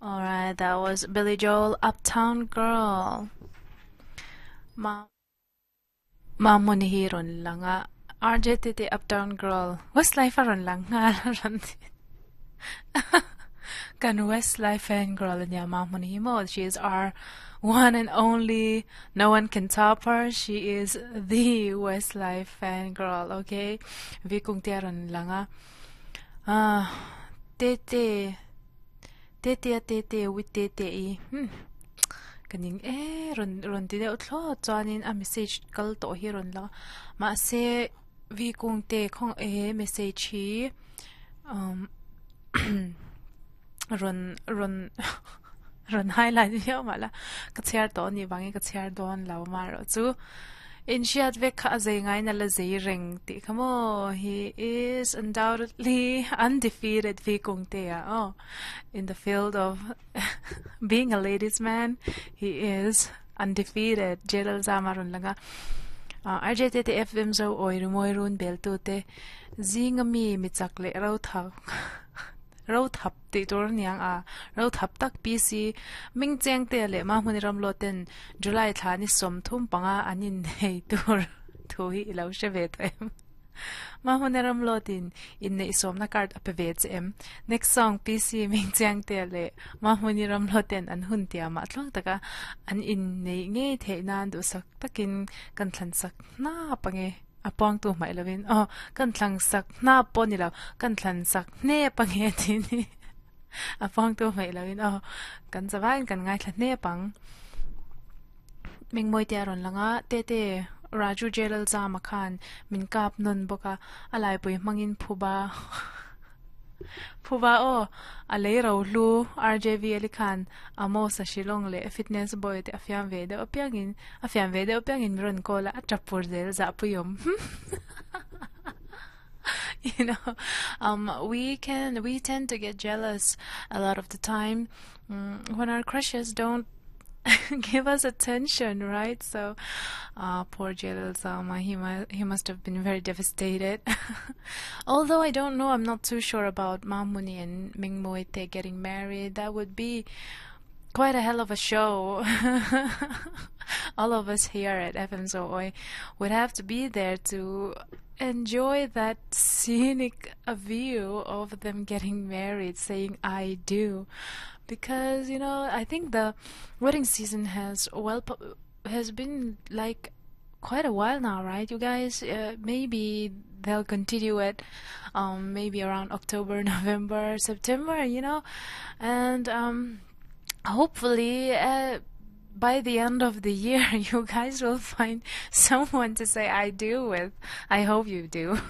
Alright, that was Billy Joel, Uptown Girl. Ma Mamuni hi rawn lang a, RJ te te Uptown Girl, Westlife a rawn lang nghal a rawn ti. Kan Westlife fan girl ania Mamuni hi maw, she is our one and only, no one can top her, she is the Westlife fan girl, okay? Vi kung te a rawn lang a. Ah, Tete. Tetea tete with tete i hmm ka ning e rawn rawn ti deuh thlawt chuanin a message kal tawh hi a rawn lang a mahse v kung te khaw he message hi umm rawn rawn rawn highlight viau mah la ka chhiar tawh anih vangin ka chhiar dawn lo amaherawhchu. Inhriat vek kha a zei ngaiin a la zei reng tih kha maw? He is undoubtedly undefeated Vi Kungtea aw. In the field of being a ladies man, he is undefeated. J Lalzama rawn lang a. RJ te te FM zo awi rimawi run beltute zinga mi mi chak leh ro thak Ro thap tih tur a niang a, ro thap tak PC Ming Cheng te leh Mahmuni Ramlo ten July thla ni 35 an innei tur thu hi i lo hre ve tawh em? Mahmuni Ramlo tin inneih sawmna card a pe ve che em? Next song PC Ming Cheng te leh Mahmuni Ramlo ten an hun tiamah tluang taka an inneih ngei theih nan duhsak takin kan thlansak hnap ange. A puangtu hmaih lovin aw kan thlang sak hnap pawh ni lo kan thlan sak hnep a nge tih ni a puangtu hmaih lovin aw kan zavaiin kan ngaithla hnep ang. Mengmawite a rawn lang a Tete Raju Jailal Zama khan min kap nawn bawk a a laipui hmangin phuba Phuba aw, a lei ro hlu RJV Ali khan Amos a Shillong leh Fitness Boy te a fiam ve deuh apiangin a fiam ve deuh apiangin min rawn call a, a tap pur zel zahpui awm. You know, um, we can, we tend to get jealous a lot of the time um, when our crushes don't give us attention, right? So, uh, poor Jalil Zama, he, mu he must have been very devastated. Although I don't know, I'm not too sure about Mamuni and Mingmoite getting married. That would be quite a hell of a show. All of us here at FM Zooi would have to be there to enjoy that scenic view of them getting married, saying I do. Because, you know, I think the wedding season has well has been like quite a while now, right? You guys, uh, maybe they'll continue it, um, maybe around October, November, September, you know, and um, hopefully uh, by the end of the year, you guys will find someone to say I do with. I hope you do.